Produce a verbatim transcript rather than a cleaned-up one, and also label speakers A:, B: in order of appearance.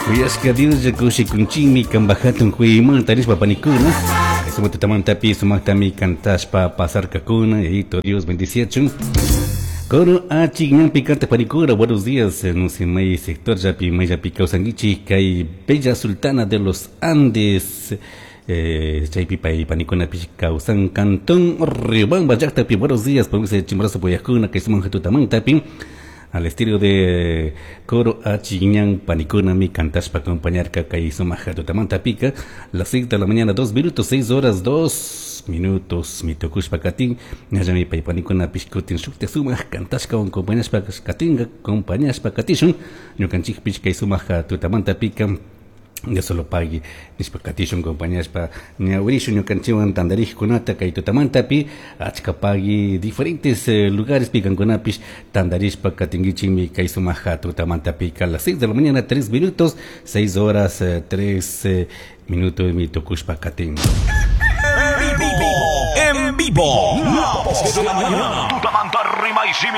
A: Kuyashka Dioslla kushikunchikmi kanpak hatun kuyaymanta nishpa panikuna. Sumak tutamantapi sumaktami kantashpa pasarkakuna. Yayito Dios bendiciachun. Coro achik ñanpi kanta panikuna, buenos días. No sé, may sector llapi mayllapi kawsankichik kay Bella Sultana de los Andes. Eh, chaypi pay panikunapish kawsan cantón Riobamba llaqtapi. Buenos días, ponse Chimborazo poyajkuna kay sumak tutamantapi. Al estilo de coro Achiñán panikuna mi kantashpa acompañarka kay sumak tutamantapika. Las seis de la mañana, dos minutos, seis horas, dos minutos, mi tukushpa katin, ñallami pay panikunapish kutin shukta sumak kantashka acompañashpa katinga, acompañashpa katishun, ñukanchikpish kay sumak tutamantapika. Dios solo pagui nishpa katishun acompañashpa ñawirishun ñukanchikwan tantarikkunata kay tutamantapi achka pagui diferentes eh, lugares pikankunapish tantarishpa katinkichikmi kay sumak tutamantapika. Las seis de la mañana, tres minutos, seis horas, eh, tres eh, minutos mi tukushpa katin.
B: En vivo, en vivo, la voz de la mañana. Tutamanta rima y